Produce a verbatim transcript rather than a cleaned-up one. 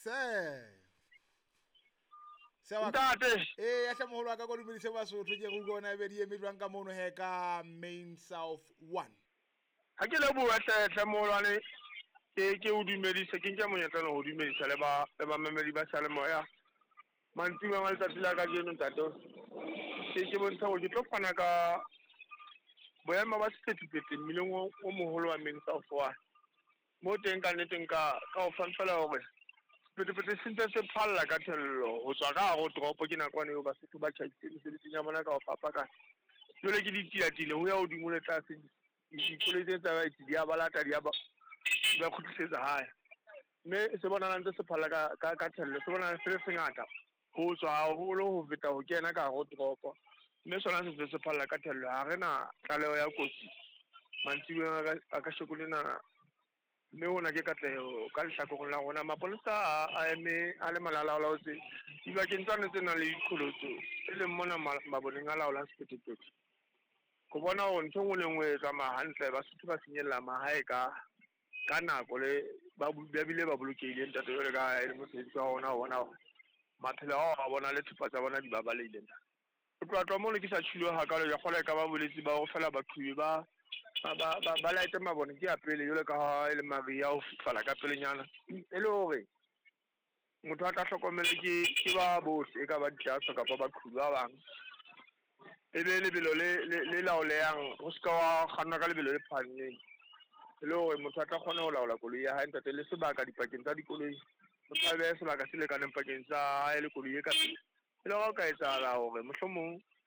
Se se wa Ntate. Eh, ya hle moholo wa ka, ko dumedise Basotho ke re utlwe ona ebe di eme jwang ka mono he ka Main South one. Ha ke leboha hle hle moholwane, ke ke o dumedise, ke nke monyetla ho dumedisa le ba le bamamedi ba Seyalemoya. Mantsibuya a letsatsi la kajeno ntate, ke ke bontsha hore ke tlo fana ka boemo ba sephethephethe mmileng o o moholo wa Main South one. Mo teng ka nnete nka ka o fa fela hore sephethephethe se ntse se phalla ka thello ho tswa ka hare ho toropo. Ke nakwana eo Basotho ba tjhaisitse mesebetsing ya bona ka ho fapakana. Jwale ke ditilatile ho ya hodimo le tlase, dikoloi tse tsamayang di a ba lata, di a ba di ba kgutlisetsa hae. Mme se bonahala ntse se phalla ka ka ka thello, se bonahala se le sengata ho tswa haholo ho feta ho kena ka hare ho toropo. Mme sona se ntse se phalla ka thello, ha re na tlaleho ya kotsi mantsibuya a kasheko lena. Mme hona ke katleho ka lehlakoreng la rona. Mapolesa a a eme a le malalaalaotse dibakeng tsane tse nang le diqholotso, e leng mona maboneng a laolang sephethephethe, ho bona hore ntho e nngwe le nngwe e tsamaya hantle, Basotho ba finyella mahae ka ka nako le ba bile ba bolokehile ntate, jwalo ka ha e le mosebetsi wa rona ho bona hore maphelo ao a bona le thepa tsa bona di babalehile ntate. Ho tloha tloha mono ke sa tjhilwe hakalo, ke kgolwa e ka ba bolwetse ba hore feela baqhubi ba ba ba ba laete mabone ke ya pele, jwalo ka ha e le mariha ho fifala ka pelenyana, e le hore motho a tla hlokomele ke ke ba bohle, e ka ba ditaaso kapa baqhubi ba bang. E be lebelo le le le laolehang, ho ska wa kgannwa ka lebelo le phahameng, e le hore motho a tla kgona ho laola koloi ya hae ntate. Le sebaka dipakeng tsa dikoloi, motho a behe sebaka se lekaneng pakeng tsa hae le koloi e ka pele, e le hore ho ka etsahala hore mohlomong